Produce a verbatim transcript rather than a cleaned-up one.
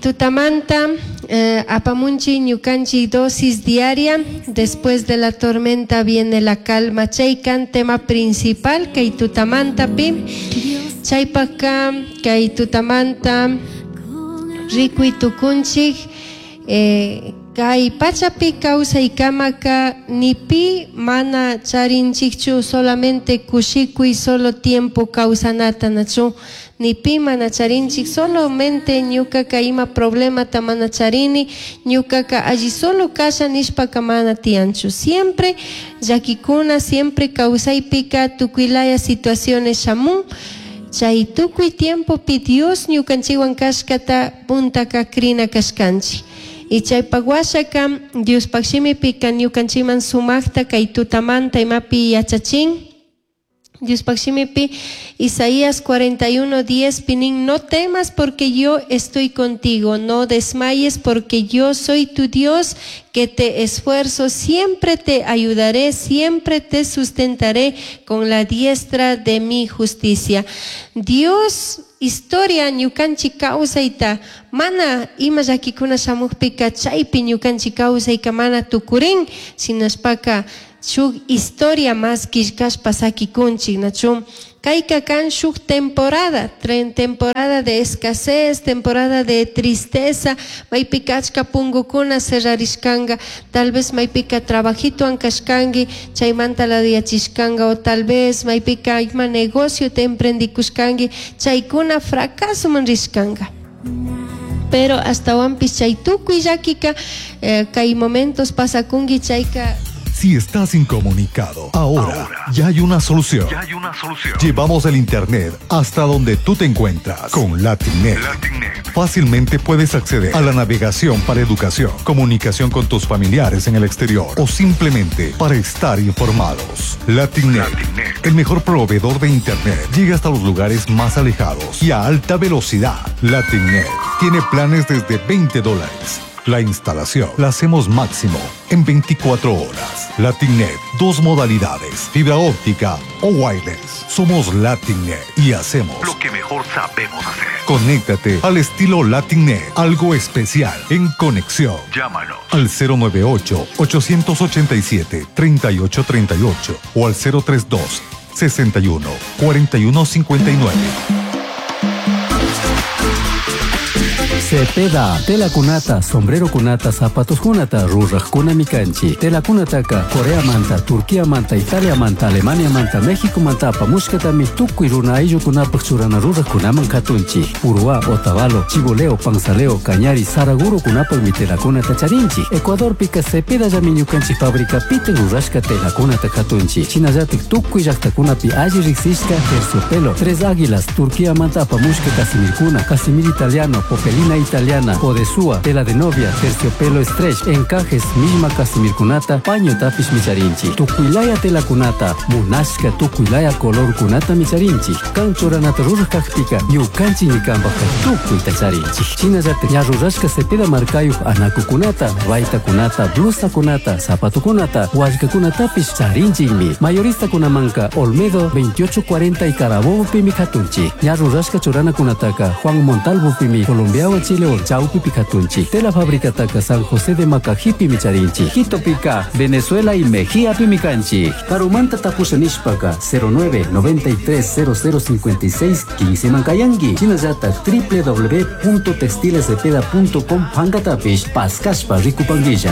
Tutamanta eh, apamunchi ñukanchik dosis diaria. Después de la tormenta viene la calma. Chaykan tema principal kay tutamantapi. Chaypaka kay tutamanta rikuy tukunchik eh, kay pachapi kawsaykamaka ni pi mana charinchikchu solamente kushikuy solo tiempo kawsanata nachu ni pi mana charinchik solamente ñukaka ima problemata mana charini ñukaka alli solo kasha nishpaka mana tiyanchu. Siempre llakikuna, siempre kawsaypika tukuylaya situaciones shamun. Chay tukuy tiempopi Dios ñukanchikwan kashkata puntaka krina kashkanchik. Y chaypak washaka Diospaq shimipika ñukanchikman sumakta kay tutamanta imapi yachachin. Diospaq shimipi Isaías cuarenta y uno diez pinin: "No temas, porque yo estoy contigo, no desmayes, porque yo soy tu Dios que te esfuerzo, siempre te ayudaré, siempre te sustentaré con la diestra de mi justicia". Dios historia ñukanchik kawsayta mana ima llakikuna shamukpika chaypi ñukanchik kawsayka mana tukurin, shinashpaka shuk historia más killkashpa sakikunchik, nachu? Kayka kan shuk temporada, temporada de escasez, temporada de tristeza, maypika achka pungukuna cerrarishkanga, tal vez maypika trabajitowan kashkanki, chaymanta laduyachishkanga, o tal vez maypika ima negocio te emprendikushkanki, chaykuna fracasoman rishkanga. Pero ashtawanpish chay tukuy llakika eh, kay momentos pasakunki chayka. Si estás incomunicado, ahora, ya hay una solución. Ya hay una solución. Llevamos el Internet hasta donde tú te encuentras con LatinNet. LatinNet. Fácilmente puedes acceder a la navegación para educación, comunicación con tus familiares en el exterior o simplemente para estar informados. LatinNet, LatinNet. El mejor proveedor de Internet, llega hasta los lugares más alejados y a alta velocidad. LatinNet tiene planes desde veinte dólares. La instalación la hacemos máximo en veinticuatro horas. LatinNet, dos modalidades, fibra óptica o wireless. Somos LatinNet y hacemos lo que mejor sabemos hacer. Conéctate al estilo LatinNet, algo especial en conexión. Llámanos al cero nueve ocho, ochocientos ochenta y siete, treinta y ocho treinta y ocho o al cero tres dos, sesenta y uno, cuarenta y uno cincuenta y nueve. Cepeda, telacunata, sombrerocunata, zapatoscunata, rurajcunami canchik. Telacunataca, Corea manta, Turquía manta, Italia manta, Alemania manta, México manta apamushkatami tukuy runa ayllukunapaj churana rurajkunaman katunchik. Uruá, Otavalo, Chibuleo, Panzaleo, Cañari, Saragurokunapajmi telacunata charinchik. Ecuadorpika Cepedallami ñukanchik fabricapita rurashka telacunata katunchik. Shinallatik tukuy llaktakunapi alli riksishka terciopelo, Tres Águilas, Turquía manta apamushka casimirkuna, casimir italiano, popelina italiana, odesúa, tela de novia, terciopelo stretch, encajes, misma casimirkunata, pañotapishmi charinchik. Tukuylaya telakunata, munashka tukuylaya colorkunatami charinchik. Kan churanata ruraj kakpika, ñukanchikmi kanpajka tukuyta charinchik. Shinallatak ña rurashka Cepeda markayuj anakukunata, baytakunata, blusakunata, zapatokunata, wallkakunatapish charinchikmi. Mayoristakunamanka Olmedo veintiocho cuarenta y Carabobo pimi katunchik. Ña rurashka churanakunataka Juan Montalvo pimi Colombiawan Chilewan chawpipi katunchik. Tela fabricataka San José de Macajipimi charinchik. Quitopika, Venezuela y Mejía pimi kanchik. Karumanta tapusha nishpaka cero nueve noventa y tres cero cero cincuenta y seis quince man kayanki. Shinallatak w w w punto textilescepeda punto com pankatapish paskashpa rikupankilla.